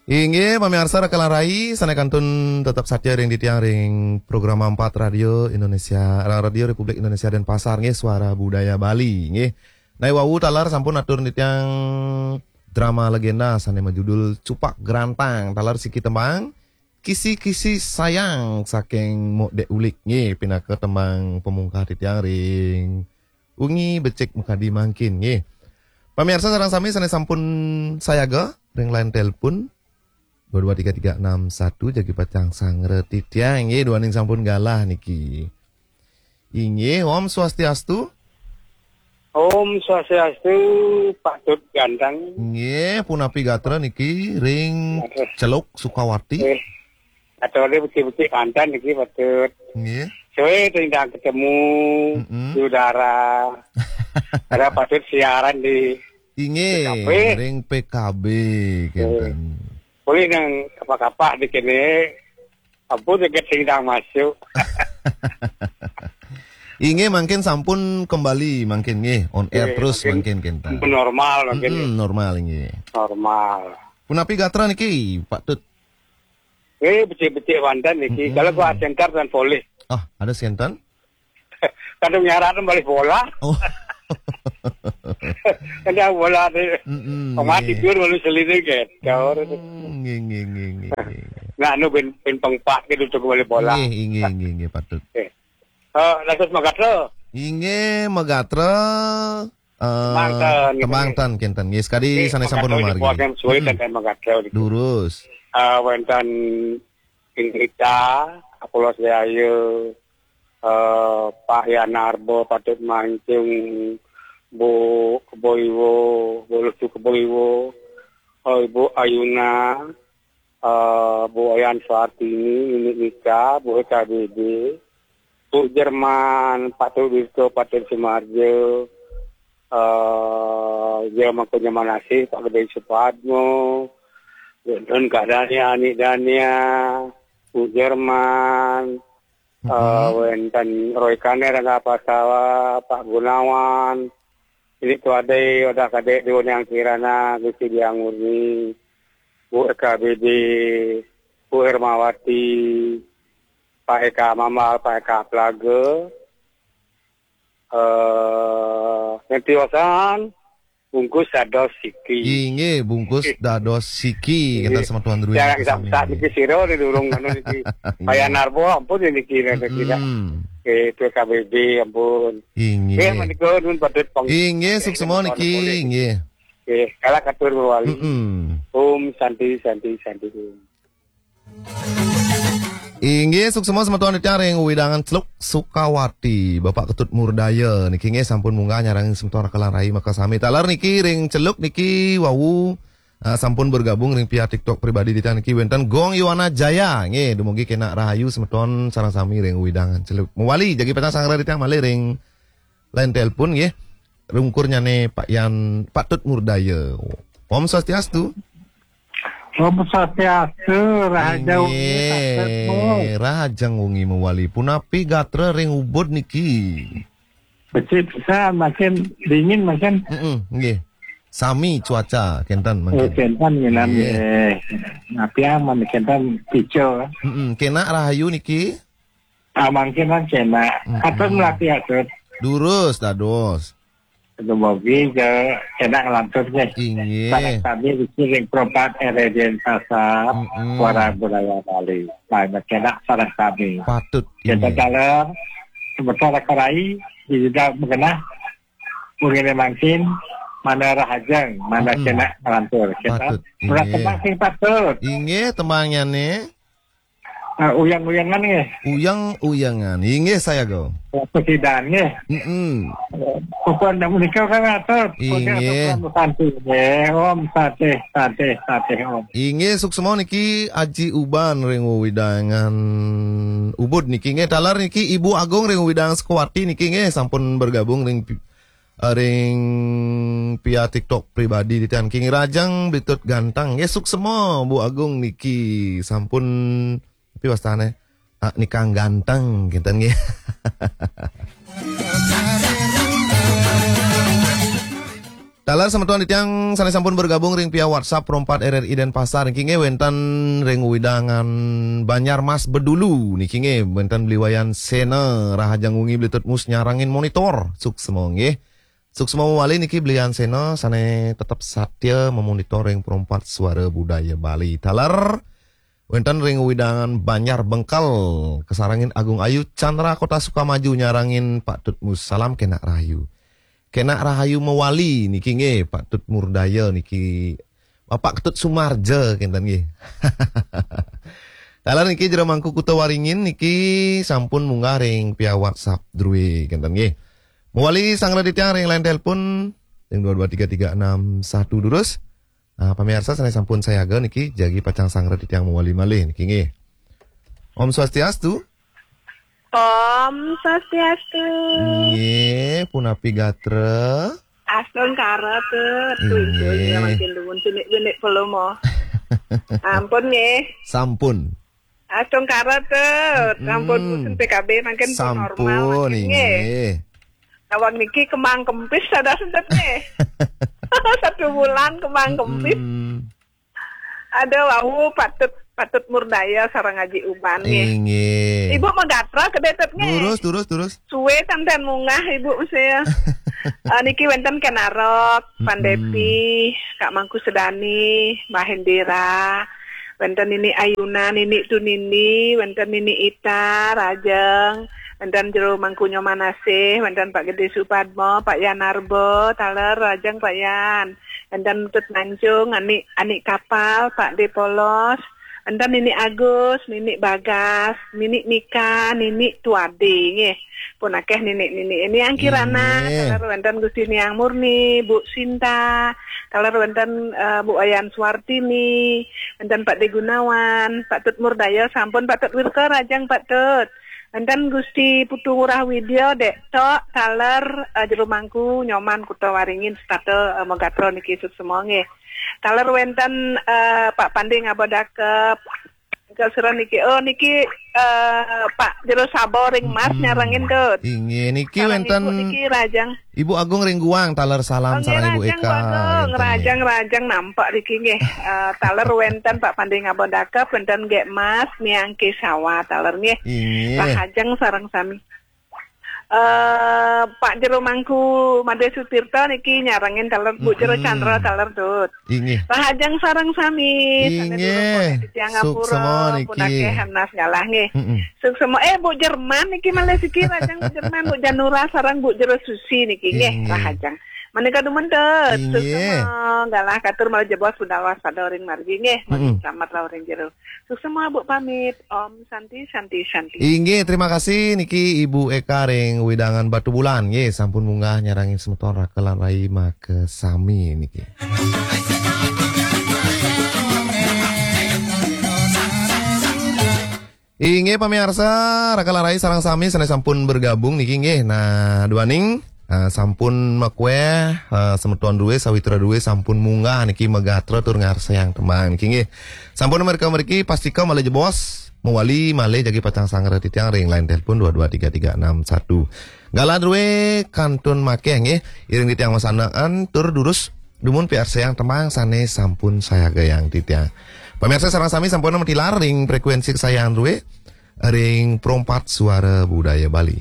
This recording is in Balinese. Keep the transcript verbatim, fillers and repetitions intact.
Inggih, pamiarsa Rakalan Rai, sané kantun tetep satia ring titiang ring program empat Radio Indonesia, Radio Republik Indonesia Denpasar, nggih, Suara Budaya Bali, nggih. Nah, wau taler sampun atur titiang drama legenda sané majudul Cupak Grantang, taler siki tembang Kisi-kisi Sayang saking Mok Dek Ulik, nggih, pinaka tembang pamungkah titiang ring wengi becik makadi mangkin, nggih. Pamiarsa sareng sami sané sampun sayaga ring line telepon dua dua tiga tiga enam satu, jagi pacang sangra titiang, nggih, duaning sampun galah niki. Inggih, Om Swastiastu. Om Swastiastu, Pak Tut Ganteng. Nggih, punapi gatra niki ring Aduh. Celuk Sukawati. Eh, atau dia becik-becik mantan niki, Pak Tut. Nggih. Suwe tindang ketemu Mm-mm. Saudara. Ada Pak Tut siaran di Inggih, P K B. Ring P K B, Eh. kenten. Boleh nang kapah-kapah di kene. Ampun, dekat sing dah masuk. Inggih, mangkin sampun kembali, mangkin nggih, on air Nggih, terus mangkin, mangkin kenten. Ampun normal mangkin Mm-mm, nggih. Normal, inggih. Normal. Punapi gatra niki, Pak Tut? Eh, becik-becik mantan niki. Mm-mm. Kalau gua center dan polih. Ah, ada senten? Kadang nyaran balik bola. Oh. Kadang bola tu. Mm-mm, Pemati nggih. Pun malu selidik kan. Kau tu. Mm, nggih, nggih, nggih, nggih, nggih. Nah, anu bin, bin pengpak gitu tu balik bola. Nggih, inggih, inggih, inggih, Pak Tut. Eh. Eh, lantas magatra. Inggih, magatra, eh, Tembang ten, tembang ten, kenten. Nggih, sekadi Eh, sané sampun magatra mamargi. Dibuat yang sulit Mm-mm. dan magatra gitu. Durus. Eh, wenten Indrita, Apolos Jaya, eh, Pak Yanarbo, Patut Mancung, Bu Kebo Iwo, Bu Lucu Kebo Iwo, eh, Ibu Ayuna, eh, Bu Oyan Suartini, Nini Nika, Bu H K B B, Bu Jerman, Patut Wirto, Patut Sumarjo, eh, Jero Mangku Nyaman Asih, Pak Gede Supadmo, Don Kak Dania, Anik Dania, Bu Jerman, Mm-mm. eh, wenten Roy Kaner, Rangga Pasawa, Pak Gunawan, Silik Tuadei, Odah Kadek, Dewa Niang Kirana, Gusti Diang Murni, Bu Eka Bebe, Bu Hermawati, Pak Eka Mambal, Pak Eka Plaga, eh, nganti wasan, bungkus dados siki. Inggih, bungkus dados siki, Inggih. Kata semeton dulu Yang niki sami, saat niki. Niki sira ni durung anu niki. Inggih. Payah narbo ampun niki, niki, niki. Mm-mm. Eh, P K B B ampun. Inggih. Nggih, menika nun patut peng-, Inggih, eh, suksema niki, niki. Inggih. Eh, kala katur mawali. Mm-mm. Om Santi, Santi, Santi Om. Inggih, suksema semeton titiang ring wewidangan Celuk Sukawati, Bapak Ketut Murdaya niki nggih sampun munggah nyarengin semeton Rakalan Rai makasami. Taler niki ring Celuk niki wau, ah, sampun bergabung ring pihak TikTok pribadi titiang niki wenten Gong Yuwana Jaya nggih, dumugi kenak rahayu semeton sareng sami ring wewidangan Celuk. Mawali jagi pacang sangra titiang malih ring line telepon nggih. Rungkurnyané Pak Yan, Pak Tut Murdaya. Om Swastiastu. Om Swastiastu, Rahaja Wengi, Pak Tut. Inggih, Rahaja Wengi mawali. Punapi gatra ring Ubud niki? Becik pisan, makin dingin makin. Mm-mm, nggih. Sami cuaca kenten Eh, mangkin. Kenten nginan, Nggih. Eh. Napi aman kenten pico. Mm-mm, kenak rahayu niki? Ah, mangkin, mangkin, nak. Mm-mm. Atur melatih atur. Durus, dados. Dumugi ke kenak ngelantur nggih. Inggih. Sareng sami niki ring Pro empat R D N Pasar, Mm-mm. Suara Budaya Bali. Nah, kenak sareng sami. Patut. Kita Inggih. Taler, sebentar kerai, di juga mengenah, mungkin mangkin, mana rahajeng, mana Mm-mm. Kenak ngelantur. Kita Patut. Ulah Inggih. Tembang sing patut. Inggih, tembangnyané. Ah, uyang-uyangan nggih. Uyang-uyangan. Inggih, sayaga. Pesidan nggih. Mm-mm. Pokok ndak menikah kan atur. Pokok Inggih. Atur Santi nggih. Om Santi, Santi, Santi, Om. Inggih, suksema niki Aji Uban ring wewidangan Ubud niki nggih. Taler niki Ibu Agung ring wewidangan Sukawati niki nggih sampun bergabung ring pi-, ring pihak TikTok pribadi titiang niki. Rahajeng Bli Tut Ganteng. Nggih, suksema Bu Agung niki sampun, tapi wastané, ah, nikang ganteng kenten nggih. Taler semeton titiang sane sampun bergabung ring via WhatsApp Pro empat R R I Denpasar niki nggih, wenten ring wewidangan Banjar Mas Bedulu niki nggih, wenten Beli Wayan Sena, rahajeng wengi Beli Tut Mus nyarengin monitor. Suksma nggih. Suksma mawali niki Beli Wayan Sena sane tetep satya memonitor ring Pro empat Suara Budaya Bali. Taler wenten ring wewidangan Banjar Bengkel, kasarengin Agung Ayu Chandra Kota Sukamaju nyarengin Pak Tut Mus. Salam kenak rahayu. Kenak rahayu mawali niki nggih, Pak Tut Murdaya niki, Bapak Ketut Sumarja kenten nggih. Taler niki Jero Mangku Kuta Waringin niki sampun munggah ring via WhatsApp druwe kenten nggih. Mawali sanggra titiang ring line telepon ring dua dua tiga tiga enam satu durus. Ah, pamiarsa sane sampun sayaga niki jagi pacang sanggra titiang mawali malih niki nggih. Om Swastiastu. Om Swastiastu. Nggih, punapi gatra? Astungkara, Tut. Nggih. Duh, duh, ya, makin dumun sini, sini, belum, oh. Ampun, nggih. Sampun. Astungkara, Tut. Ampun, mm-mm, musim P K B makin sampun normal, makin, nggih, nggih. Nawang niki kembang kempis, ada sentet, nggih. Satu bulan kembang kempis. Mm-mm. Ada wau Patut, Patut Murdaya sareng Aji Uban nggih. Inggih. Ibu magatra kedai Tut nggih. Durus, durus, durus. Suwe ten-ten munggah Ibu mesti ya. Eh, niki wenten Ken Arok, Pan, mm-mm, Depi, Kak Mangku Sedani, Mbah Indira, wenten Nini Ayuna, Nini Tunindi, wenten Nini Ita, Rajeng, wenten Jero Mangku Nyoman Asih, wenten Pak Gede Supadmo, Pak Yan Arbo, taler Rajeng Pak Yan. Wenten Tut Mancung, Anik, Anik Kapal, Pak De Polos, wenten Nini Agus, Nini Bagas, Nini Mika, Nini Tuade nggih. Pun akeh nini-nini. Ini Angkirana, nggih, taler wenten Gusti Niang Murni, Bu Sinta, taler wenten, eh, Bu Wayan Suwartini, wenten Pak De Gunawan, Pak Tut Murdaya, sampun Pak Tut Wirka, Rajeng Pak Tut. Wenten Gusti Putu Ngurah Widya, Dek Tok, taler, eh, Jero Mangku Nyoman Kuta Waringin setata, eh, magatra niki suksma nggih. Taler wenten, eh, Pak Pande Ngaba Dakep. Engkel sira niki, oh, niki, eh, Pak Jero Sabo ring Mas, mm-mm, nyarengin Tut. Inggih, niki salam wenten Ibu niki Rajeng. Ibu Agung ring Guang, taler salam, oh, nggih, sareng Ibu Rajeng Eka, Bu Agung, wenten nggih. Rajeng, Rajeng nampak niki nggih. Eh, taler wenten Pak Pande Ngaba Dakep, wenten Gek Mas, Niang Kesawa, taler nggih. Inggih. Rahajeng sareng sami. Eh, Pak Jero Mangku Made Sutirta niki nyarengin taler, Bu Jero, mm-mm, Chandra, taler Tut. Inggih. Rahajeng sareng sami, sane, inggih, durung konek titiang ngapura, suksma niki. Pun akeh anas galah nggih. Mm-mm. Suksma, eh, Bu Jerman niki malih siki, Rajeng Bu Jerman, Bu Janura sareng Bu Jero Susi niki nggih, inggih, rahajeng. Menika dumun Tut, inggih, suksma galah katur malih jebos budal waspada ring margi nggih, mm-mm, selamat rauh ring jero. Suksma Bu pamit, Om Santi, Santi, Santi. Inggih, terima kasih niki Ibu Eka ring wewidangan Batubulan nggih, sampun munggah nyarengin semeton raka lan rai makasami niki. Inggih pamiarsa, raka lan rai sareng sami sane sampun bergabung niki nggih. Nah, duaning, eh, sampun makueh, eh, semeton druwe, sawitra druwe sampun munggah niki magatra tur ngarsayang tembang niki nggih. Sampun mereka mriki pastika malih jebos, mawali malih jagi pacang sanggra titiang ring line telepon dua dua tiga tiga enam satu. Galah druwe kantun makeh nggih, iring titiang masandekan tur durus dumun piarsayang tembang sane sampun sayagayang titiang. Pamiarsa sareng sami sampun matilar ring frekuensi kesayangan druwe, ring Pro empat Suara Budaya Bali.